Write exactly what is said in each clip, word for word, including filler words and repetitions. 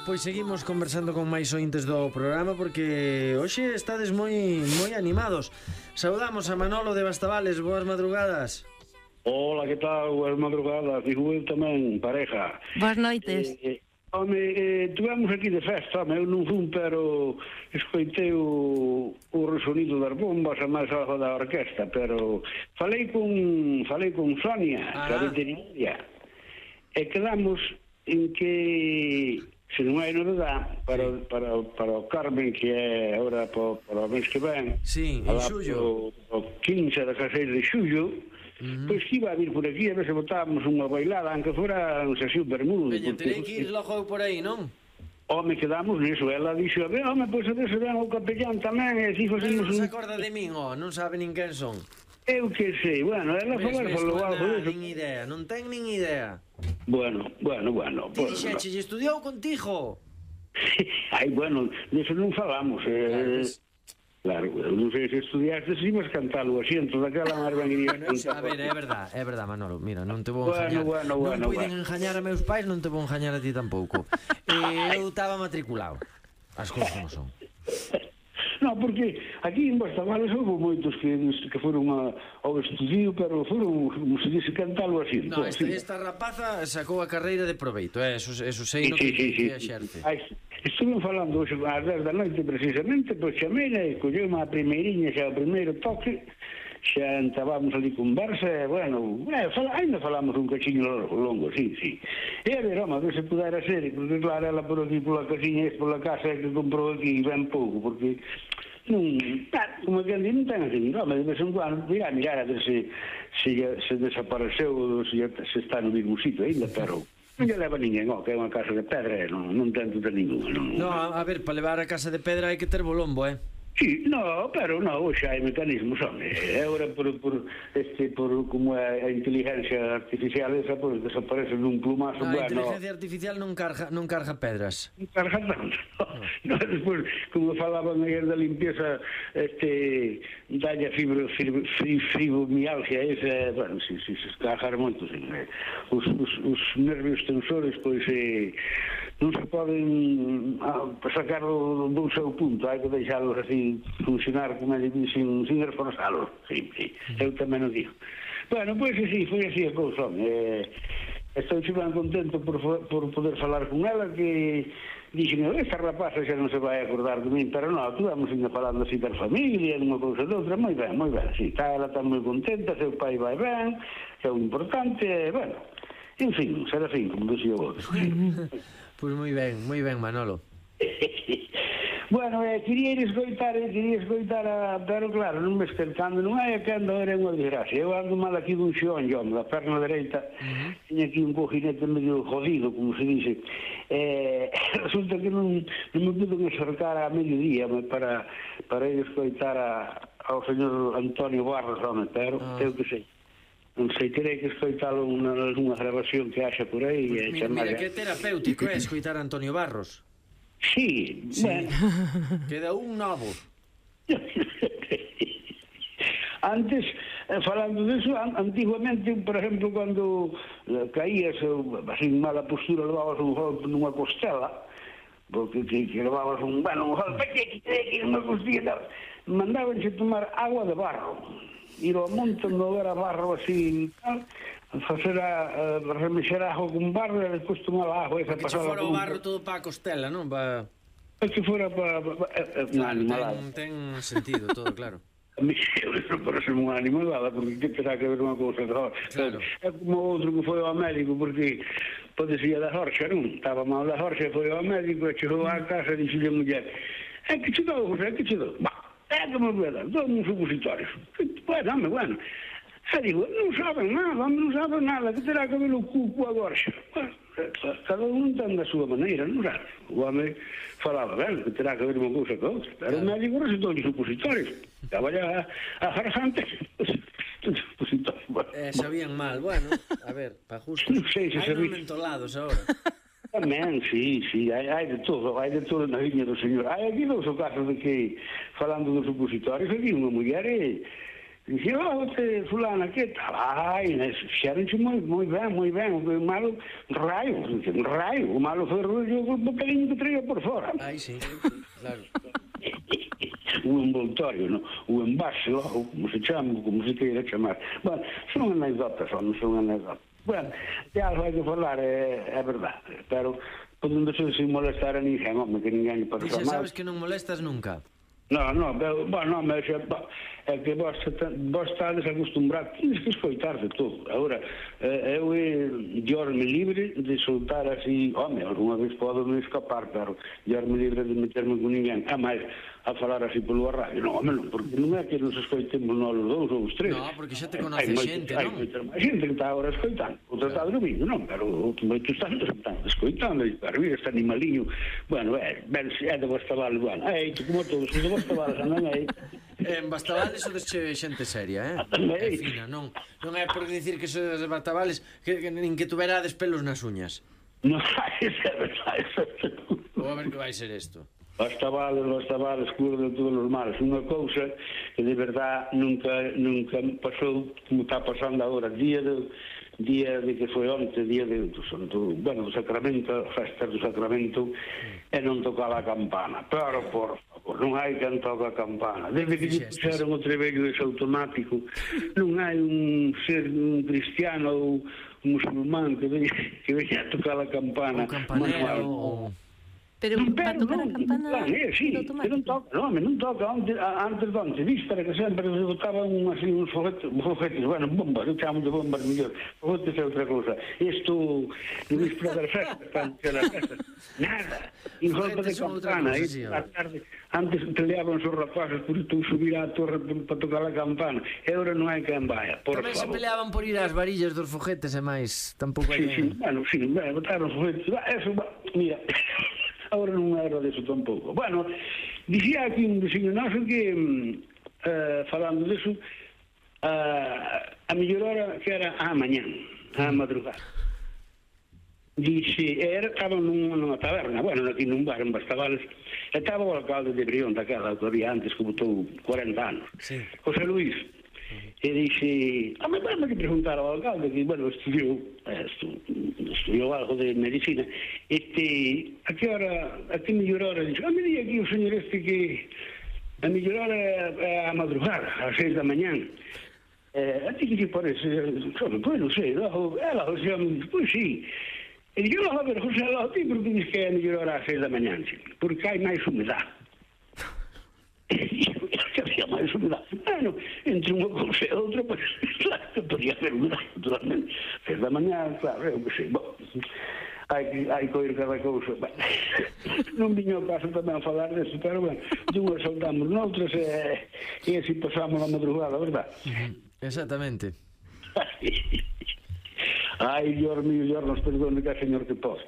pois seguimos conversando con máis ointes do programa porque hoxe estades moi moi animados. Saudamos a Manolo de Bastavales, boas madrugadas. Hola, que tal? Boas madrugadas, digo eu tamén, pareja. Boas noites. Eh, eh, home, eh, tuvemos aquí de festa, home, eu non fun, pero escoitei o, o resonido das bombas e máis algo da orquesta, pero falei con falei con Sonia, ah. que a veterinaria, e quedamos en que se non hai novedade para, sí. para, para o Carmen, que é agora para, para o mês que ven, sí, en xullo, o, o quince de caseiro de xullo, uh-huh. pois que iba a vir por aquí a ver se botábamos unha bailada, aunque fora un sesión bermudo. Veña, terei que ir logo por aí, non? Home, quedamos niso, ela dixo, a ver, home, pois a ver se ven o capellán tamén, e así facemos un... non se un... acorda de min, ó, non sabe nin quen son. Eu que sei, bueno, ela falar falou algo diso. Nin idea, non ten nin idea. Bueno, bueno, bueno. Ti dixeche, lle estudiou contigo? Ai, bueno, diso non falamos. Eh, claro, eu non sei se estudiaste, se ibas cantalo así, entón daquela máis ben iría. A ver, é verdad, é verdad, Manolo, mira, non te vou engañar. Bueno, bueno, bueno. Non puiden engañar a meus pais, non te vou engañar a ti tampouco. E eu estaba matriculado. As cousas como son. No, porque aquí en Bastavales houve moitos que, que foron a, ao estudio, pero foron, como se dice, cantalo así. No, esta, esta rapaza sacou a carreira de proveito, eh? eso, eso sei no sí, que, sí, que sí, exerce. Ai, estuve falando hoxe ás dez da noite precisamente, pois chamela e colleu unha primeiriña, xa o primeiro toque, xa entabamos ali conversa, e, bueno, eh, fala, ainda falamos un cachiño longo, sí, sí. E a ver, home, a ver se pudera ser, porque claro, ela por aquí, pola casiña, e pola casa que comprou aquí, ben pouco, porque non, como que andi, non ten así, home, de vez en cuando, mira, mirar a ver se, se, se desapareceu, se, se está no mismo sitio ainda, pero non lle leva ninguén, ó, que é unha casa de pedra, non, non ten tuta ninguna, non. No, a, a ver, para levar a casa de pedra hai que ter bolombo, eh? Sí, no, pero no, hoxe hai mecanismos, home. Agora, por, por, este, por como é a inteligencia artificial esa, pois pues, desaparece nun plumazo. No, a bueno, inteligencia artificial non carga, non carga pedras. Non carga tanto. No, despois, como falaban ayer da limpieza, este, dalle fibro, fibro, fibromialgia, esa, bueno, si, si, se cargar moito, si, os, os, os nervios tensores, pois, eh, non se poden ah, sacar do, do seu punto, hai que deixalos así funcionar como ele dice, sin, sin esforzalos, sí, sí, eu tamén o digo. Bueno, pois pues, sí, foi así a cousa, eh, estou ben contento por, por poder falar con ela, que dixen, esta rapaza xa non se vai acordar de min, pero non, estuvamos ainda falando así da familia, dunha cousa de outra, moi ben, moi ben, sí, está, ela está moi contenta, seu pai vai ben, que é o importante, bueno, en fin, será fin, como dixía o outro. Pois moi ben, moi ben, Manolo. Bueno, eh, quería ir escoitar, eh, quería escoitar a... Pero claro, non me esquentando, non hai que ando, era unha desgracia. Eu ando mal aquí dun xeón, yo, da perna dereita, uh-huh. Tiña aquí un cojinete medio jodido, como se dice. Eh, resulta que non, non me pudo acercar a mediodía para, para ir escoitar a, ao señor Antonio Barros, home, pero, uh-huh. eu que sei. Non sei, terei que escoitalo nunha grabación que haxa por aí. Pues mira, mira, que terapéutico é escoitar a Antonio Barros. Sí, sí, bueno. Queda un novo. Antes, eh, falando disso, an antiguamente, por exemplo, cando eh, caías, así en mala postura, levabas un golpe nunha costela, porque que, que levabas un, bueno, un golpe que que nunha costilla, mandabanse tomar agua de barro, ir ao monte onde era barro así, tal, facer a, a remexer agua con barro e despois tomar a agua esa pasada. Que fora o barro todo para a costela, non? Pa... Que fora para... Pa, eh, claro, ten, ten sentido todo, claro. A mí eso parece unha animalada, porque que terá que ver unha cousa de horcha. Claro. É como outro que foi ao médico, porque pode ser da horcha, non? Estaba mal da horcha, foi ao médico e chegou á casa e dixo a muller, é que che dou, é que che dou? Bah, é que me voy a dar, dou uns supositorios. Bueno, home, bueno. E digo, non saben nada, non saben nada, que terá que ver o cu coa gorxa. Bueno, cada un ten da súa maneira, non sabe? O home falaba ben, que terá que ver unha cousa que outra. Pero o médico recetou os supositorios. Estaba ya a garganta. Eh, sabían mal, bueno, a ver, para justo. Non sei se hai non mentolados agora. Tamén, sí, sí, hai, hai de todo, hai de todo na viña do señor. Hai aquí dous casos de que, falando dos supositorios, aquí unha muller e... Dixe, oh, te, fulana, que tal? Ai, fixeronche moi, moi ben, moi ben. O malo, raio, un raio. O malo foi o bocadinho que traía por fora. Ai, sí, claro. O envoltorio, no? O envase, ou como se chama, como se queira chamar. Bueno, son anécdotas, non son anécdotas. Bueno, de algo hai que falar, é, é verdade. Pero, podendo ser sin molestar a ninguén, home, que ninguén lle pasa mal. Dixe, sabes que non molestas nunca? No, no, pero, bueno, mas é que vos, vos estades acostumbrados, tens que escoitarse todo. Agora, eh, eu diorme libre de soltar así, home, alguna vez podo me escapar, pero diorme libre de meterme con ninguén. A máis, a falar así polo radio, non, home, non, porque non é que nos escoitemos nós os dous ou os tres. No, porque xa te conoce xente, non? Hai xente que está agora escoitando, outra está dormindo, non, pero moitos están escoitando, e para vir este animaliño, bueno, é, ben, é de Bastavales, bueno, é, como todos, de Bastavales andan aí. En Bastavales sodes xente seria, eh? É fina, non, non é por dicir que sodes de Bastavales que, que nin que tuverades pelos nas uñas. Non, isso é verdade, isso é verdade. Ou a ver que vai ser isto. Bastavales, Bastavales, cura de todos os males. Unha cousa que de verdad nunca nunca pasou como está pasando agora. Día de, día de que foi onte, día de, do, bueno, do Sacramento, festa do Sacramento, e non tocaba a campana. Pero, por favor, non hai quen toca a campana. Desde que lle puxeron o trebello ese automático, non hai un ser un cristiano ou un musulmán que veña, que veña a tocar a campana. Un campanero ou... Pero, non, para pero tocar non, a campana non, é, sí, que non toca, non, non toca antes, antes de antes, víspera que sempre se botaban así uns foguetes, foguetes, bueno, bombas, eu chamo de bombas mellor, foguetes é outra cousa. Isto, no víspera das festas, antes das festas, nada, en golpe de campana, aí, a tarde, antes peleaban os rapazes por tú subir á torre para tocar a campana, e agora non hai quen vaya, por Tamén favor. se peleaban por ir ás varillas dos foguetes e máis, tampouco hai... Sí, sí, bueno, sí, bueno, botaron os foguetes, eso, mira... Agora non era deso tampouco. Bueno, dicía aquí un veciño noso que, uh, falando deso, uh, a mellor hora que era a mañán, a madrugada. Dixe, era, estaba nunha, nunha taberna, bueno, aquí nun bar en Bastavales, e estaba o alcalde de Brión, daquela que había antes, que botou cuarenta anos, sí. José Luís. E dixe, a mí me que preguntar ao alcalde que, bueno, estudiou estu, estudiou algo de medicina, este, a que hora, a que mellor hora, dixe, a me di aquí o señor este que a mellor hora é a madrugada, ás seis da mañán. Eh, a ti que te parece? Pois non sei, ela, o sea, pois sí. E dixe, a ver, José, a ti porque dices que é a mellor hora ás seis da mañán, porque hai máis humedade. Que había máis humedade. Bueno, entre unha cousa e outra, pues, claro, podría haber humedade, naturalmente. Seis da mañá, claro, eu que sei, bom, hai que, hai que oír cada cousa. Bueno, non viño o caso tamén a falar deso, pero, bueno, dunhas soltamos noutras e, e así pasamos a madrugada, verdad? Exactamente. Ai, Dios mío, Dios nos perdone que é Señor que pode.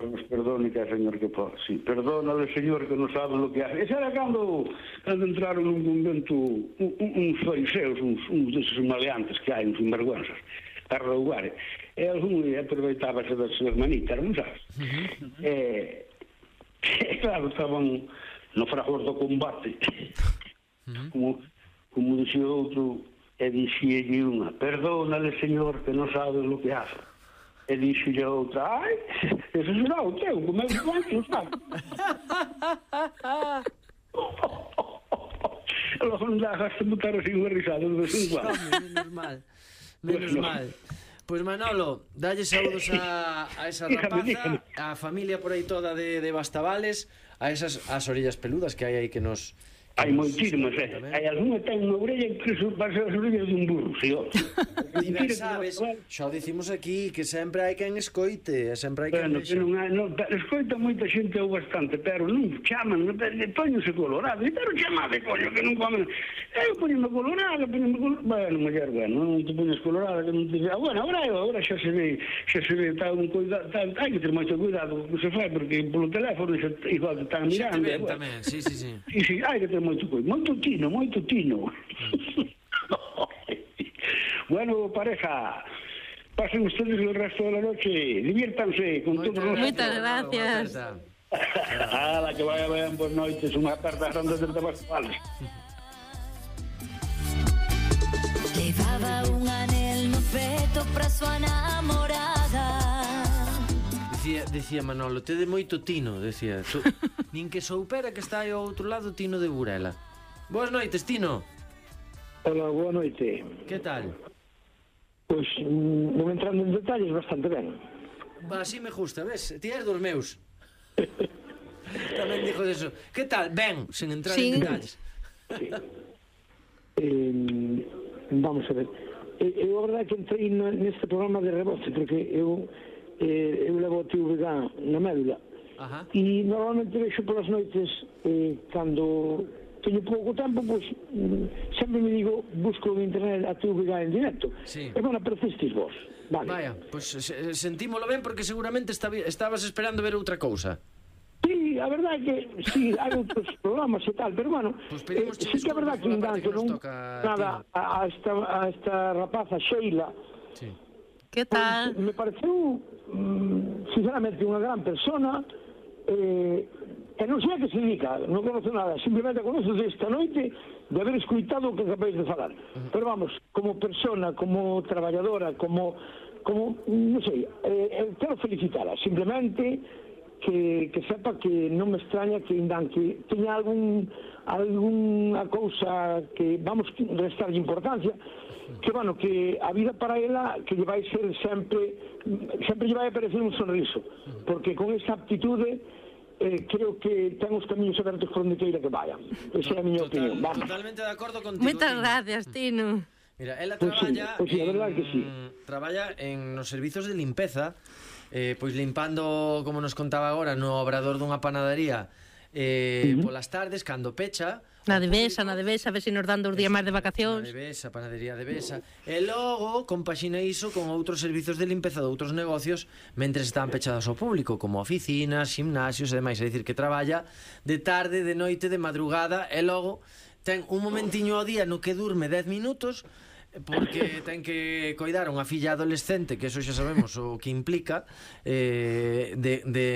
Nos perdone que é Señor que pode. Sí, perdónale, Señor, que non sabe lo que hace. Ese era cando, cando entraron nun convento un, un, uns fariseus, uns, uns deses maleantes que hai, uns sinvergüenzas, a roubar. E algún aproveitábase das súas manitas, non sabes? Uh-huh. E, e, claro, estaban no fragor do combate. Uh-huh. Como, como dixía outro, e dixílle unha, perdónale, Señor, que non sabe lo que hace. E dixille outra, ai, ese será o teu, como é que non sabe. E logo non dejaste botar así unha risada de vez en cuando. Menos mal, menos mal. Pois Manolo, dalle saúdos a, a esa rapaza, a familia por aí toda de, de Bastavales, a esas as orellas peludas que hai aí que nos... Hai moitísimas, eh? Hai algunha ten unha orella que parece as orellas dun burro, si, ó. Ti ben sabes, xa o dicimos aquí, que sempre hai quen escoite, sempre hai quen bueno, vexa. Que non hai, non, escoita moita xente ou bastante, pero non chaman, poñense colorado, pero chamade, coño, que non comen. Eu poñeme colorado, poñeme colorado, bueno, muller, bueno, non te poñes colorado, que non te... Ah, bueno, agora, agora xa se ve, xa se ve, está un cuidado, tá, hai que ter moito cuidado que se fai, porque polo teléfono xa, igual te están mirando. Xa te ven tamén, sí, sí, sí. Sí, sí, hai que ter moito cuidado, moito tino, moito tino. Bueno, pareja, pasen ustedes el resto de la noche, diviértanse con todos los... Muchas gracias. Ala, que vaya, vayan por noites, unha aperta grande de Bastavales. Levaba un anel no peto pra súa namorada. Dicía, dicía Manolo, tede moito tino, decía. Tu, nin que soupera que está aí ao outro lado Tino de Burela. Boas noites, Tino. Hola, boa noite. Que tal? Pois, non entrando en detalles, bastante ben. Va, así me gusta, ves? Ti és dos meus. Tamén dixo eso. Que tal? Ben, sen entrar sí. en detalles. Sí. Eh, vamos a ver. Eu, a verdade que entrei neste programa de rebote, porque eu, eh, eu levo o T V G na médula. Ajá. E normalmente vexo polas noites, eh, cando teño pouco tempo, pois sempre me digo, busco en internet a T V G en directo. Sí. E bueno, aparecistes vos. Vale. Vaya, pois pues, sentímolo ben porque seguramente estabas esperando ver outra cousa. Sí, a verdade é que sí, hai outros programas e tal, pero bueno, pues eh, sí que a verdade que ainda que non nada a, a, esta, a esta rapaza Sheila. Sí. Que tal? Pues, me pareceu mm, sinceramente unha gran persona, eh, e non sei a que se dedica, non conoce nada, simplemente conoce esta noite de haber escuitado o que acabáis de falar. Uh-huh. Pero vamos, como persona, como traballadora, como, como non sei, eh, quero felicitala, simplemente que, que sepa que non me extraña que ainda que teña algún algunha cousa que vamos restar de importancia, que bueno, que a vida para ela que lle vai ser sempre sempre lle vai aparecer un sorriso, porque con esa aptitude eh, creo que ten os camiños abertos por onde queira que vayan. Esa é a miña Total, opinión. Vamos. Totalmente de acordo contigo. Moitas gracias, Tino. Mira, ela Pues traballa, sí, pues sí, a verdade en, que sí. traballa en nos servizos de limpeza, eh, pois limpando, como nos contaba agora, no obrador dunha panadería, eh, uh-huh. polas tardes, cando pecha. Na de Besa, na de Besa, a ver se nos dan dos días máis de vacacións. Na de Besa, panadería de Besa. E logo compaxina iso con outros servizos de limpeza de outros negocios mentres están pechados ao público, como oficinas, gimnasios e demais. É dicir, que traballa de tarde, de noite, de madrugada, e logo ten un momentiño ao día no que durme dez minutos, porque ten que coidar unha filla adolescente, que eso xa sabemos o que implica, eh, de, de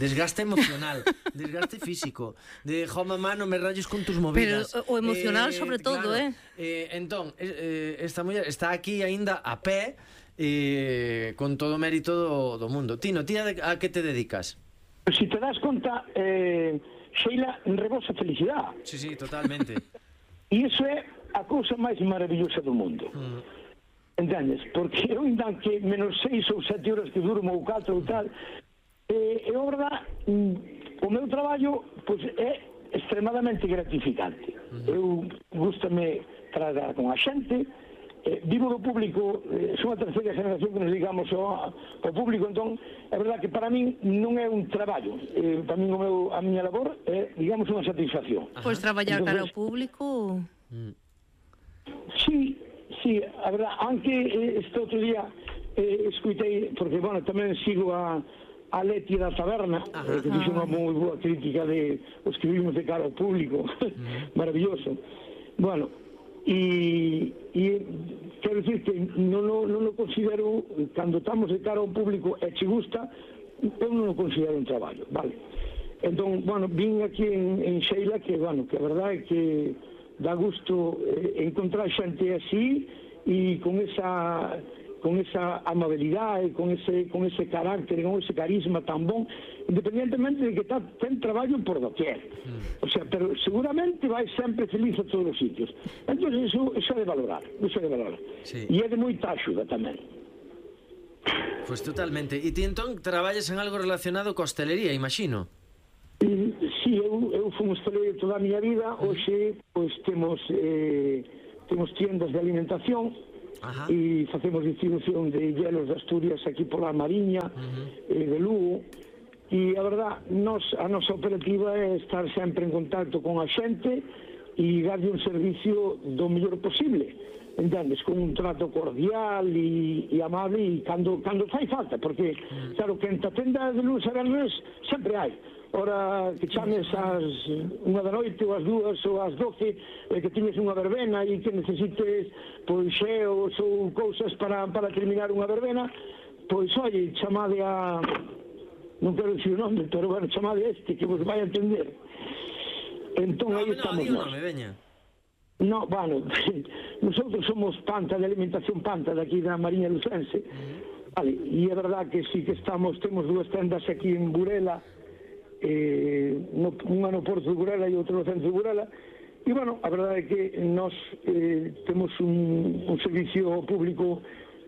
desgaste emocional, desgaste físico, de jo mamá, non me rayes con tus movidas. Pero o emocional eh, sobre todo, claro, eh? eh entón, eh, esta muller está aquí aínda a pé, eh, con todo o mérito do, do mundo. Tino, ti a, a que te dedicas? Si te das conta, eh, Sheila rebosa felicidade. Sí, sí, totalmente. E iso é a cousa máis maravillosa do mundo. Mm. Entendes? Porque eu ainda que menos seis ou sete horas que durmo ou catro ou tal, eh, é verdade, o meu traballo pois, é extremadamente gratificante. Mm. Eu gústame tratar con a xente, eh, vivo do público, eh, son a terceira generación que nos dedicamos ao, ao público, entón é verdade que para min non é un traballo, eh, para min o meu, a miña labor é, digamos, unha satisfacción. Pois traballar cara ao público... Mm. Sí, sí, a verdad, aunque eh, este outro día eh, escuitei, porque, bueno, tamén sigo a, a Leti da Taberna, eh, que dixo unha moi boa crítica de os que vimos de cara ao público, uh-huh. maravilloso. Bueno, e, e quero dicir que non, non, non o considero, cando estamos de cara ao público e che gusta, eu non o considero un traballo, vale? Entón, bueno, vim aquí en, en Sheila, que, bueno, que a verdade é que dá gusto eh, encontrar xente así e con esa con esa amabilidade, con ese con ese carácter, con ese carisma tan bon, independentemente de que tá, ten traballo por doquier. Mm. O sea, pero seguramente vai sempre feliz a todos os sitios. Entón, eso, eso é de valorar, eso é de valorar. Sí. E é de moita axuda tamén. Pois pues totalmente. E ti entón traballas en algo relacionado coa hostelería, imagino? Si, eu, eu fui hosteleiro toda a miña vida. Hoxe, pois, temos eh, temos tiendas de alimentación. Ajá. E facemos distribución de hielos de Asturias aquí pola Mariña, uh-huh. eh, de Lugo. E a verdad, nos, a nosa operativa é estar sempre en contacto con a xente e darlle un servicio do mellor posible, entendes, con un trato cordial e, e amable, e cando, cando fai falta, porque, uh-huh. claro, que en ta tenda de lunes a viernes sempre hai. Ora que chames ás unha da noite ou ás dúas ou ás doce, e que tiñes unha verbena e que necesites pois xeos ou cousas para, para terminar unha verbena, pois oi, chamade a, non quero dicir o nome, pero bueno, chamade a este que vos vai a entender. Entón no, aí no, estamos no, nós. No, me veña. No, bueno, nosotros somos Panta, de alimentación Panta, de aquí da Mariña Lucense. Vale, e é verdad que sí que estamos, temos dúas tendas aquí en Burela, eh, no, unha no Porto de Burela e outra no centro de Burela, e, bueno, a verdade é que nós eh, temos un, un servicio público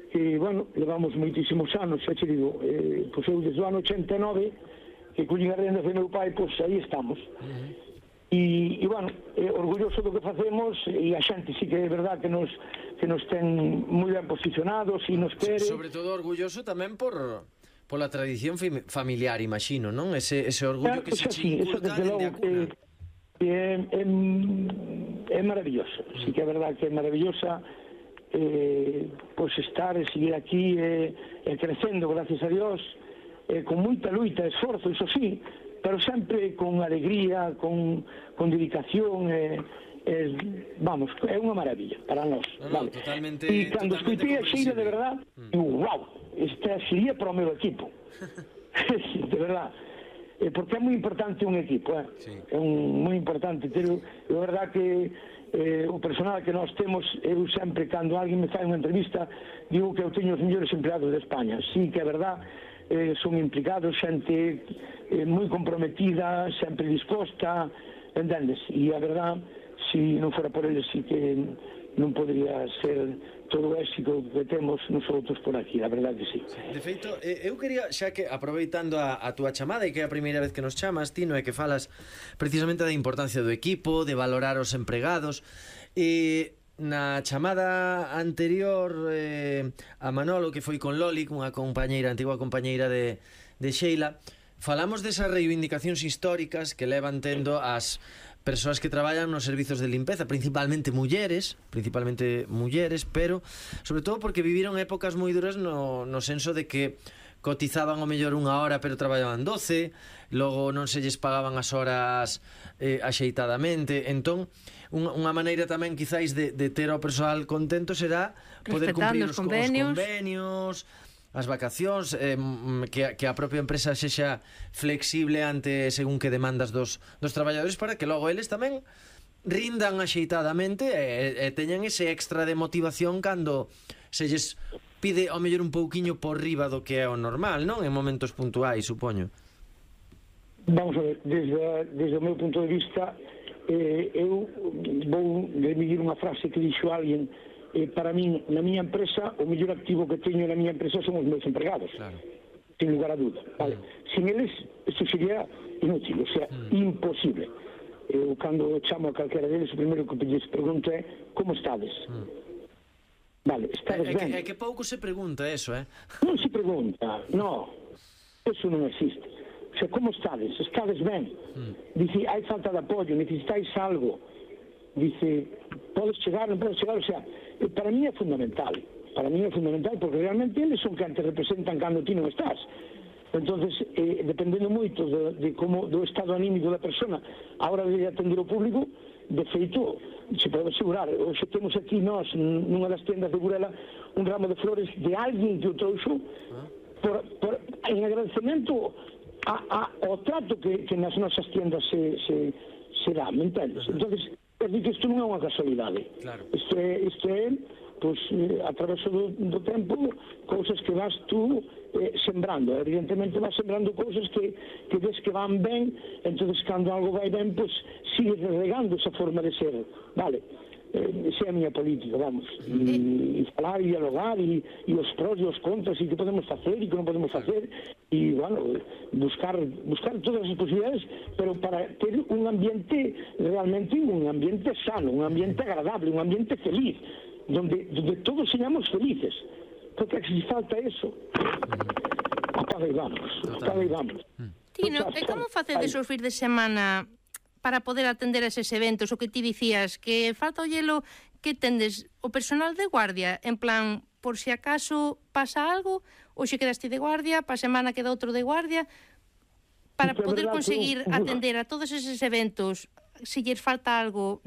que, bueno, levamos moitísimos anos, xa che digo, eh, pois eu desde o ano ochenta e nove, que collín a rendas de meu pai, pois aí estamos. Uh-huh. E, e, bueno, eh, orgulloso do que facemos, e a xente sí que é verdad que nos, que nos ten moi ben posicionados e nos quere. Sobre todo orgulloso tamén por pola tradición familiar, imagino, non? Ese, ese orgullo que se che inculca dende a cuna. Que é, é, é maravilloso, sí que é verdad que é maravillosa, eh, pois estar e seguir aquí e eh, eh, crecendo, gracias a Dios, eh, con moita luita, esforzo, iso sí, pero sempre con alegría, con, con dedicación, eh, eh, vamos, é unha maravilla para nós. No, no, vale. totalmente, e cando escutei a Xeira, de verdad, mm. digo, wow, esta sería para o meu equipo. De verdad. Eh, porque é moi importante un equipo, eh? Sí. É un, moi importante, pero é verdad que eh, o personal que nós temos, eu sempre, cando alguén me fai unha entrevista, digo que eu teño os mellores empleados de España. Sí, que é verdad, eh, son implicados, xente eh, moi comprometida, sempre disposta, entendes? E a verdad, se non fora por eles, sí que non podría ser todo o éxito que temos nosotros por aquí, a verdade que sí. De feito, eu quería, xa que aproveitando a, a túa chamada, e que é a primeira vez que nos chamas, Tino, e que falas precisamente da importancia do equipo, de valorar os empregados, e na chamada anterior eh, a Manolo, que foi con Loli, unha compañeira, antigua compañeira de, de Sheila, falamos desas reivindicacións históricas que levan tendo as persoas que traballan nos servizos de limpeza, principalmente mulleres, principalmente mulleres, pero sobre todo porque viviron épocas moi duras no, no senso de que cotizaban o mellor unha hora pero traballaban doce, logo non se lles pagaban as horas eh, axeitadamente. Entón, unha, unha maneira tamén quizáis de, de ter ao persoal contento será poder cumprir os, os convenios, convenios as vacacións, eh, que, que a propia empresa sexa flexible ante según que demandas dos, dos traballadores, para que logo eles tamén rindan axeitadamente e, e teñan ese extra de motivación cando se lles pide ao mellor un pouquiño por riba do que é o normal, non? En momentos puntuais, supoño. Vamos a ver, desde, desde o meu punto de vista, eh, eu vou remitir unha frase que dixo alguén. Eh, para min, na miña empresa, o mellor activo que teño na miña empresa son os meus empregados, claro. Sin lugar a duda, vale? Mm. Sin eles, isto sería inútil, o sea, mm. imposible. Eu, cando chamo a calquera deles, o primeiro que lles pregunto é como estades? Mm. Vale, estades é, ben? É que, que pouco se pregunta eso, eh? Non se pregunta, no, eso non existe. O sea, como estades? Estades ben? Mm. Dice, hai falta de apoio, necesitáis algo. Dice, podes chegar, non podes chegar, o sea, para mí é fundamental, para mí é fundamental, porque realmente eles son que te representan cando ti non estás. Entonces, eh, dependendo moito de, de como do estado anímico da persona a hora de atender o público, de feito, se pode asegurar, hoxe temos aquí nós, nunha das tendas de Burela, un ramo de flores de alguén que o trouxo por, por, en agradecemento a, a, ao trato que, que nas nosas tiendas se, se, se dá, me entendes? Entonces, é dicir que isto non é unha casualidade. Claro. Isto é, isto é pois, eh, a través do, do tempo, cousas que vas tú eh, sembrando. Evidentemente vas sembrando cousas que, que ves que van ben, entonces cando algo vai ben, pois sigues regando esa forma de ser. Vale, eh, esa é a miña política, vamos. E, e falar e dialogar e, e os pros e os contras e que podemos facer e que non podemos facer e, bueno, buscar buscar todas as posibilidades, pero para ter un ambiente realmente un ambiente sano, un ambiente agradable, un ambiente feliz, donde, donde todos seamos felices, porque si falta eso, apaga e vamos, apaga e vamos. Tino, e como facedes os fins de semana para poder atender eses eventos? O que ti dicías, que falta o hielo, que tendes o personal de guardia, en plan, por si acaso pasa algo, ou se quedaste de guardia, pa semana queda outro de guardia, para poder conseguir atender a todos eses eventos, se lles falta algo na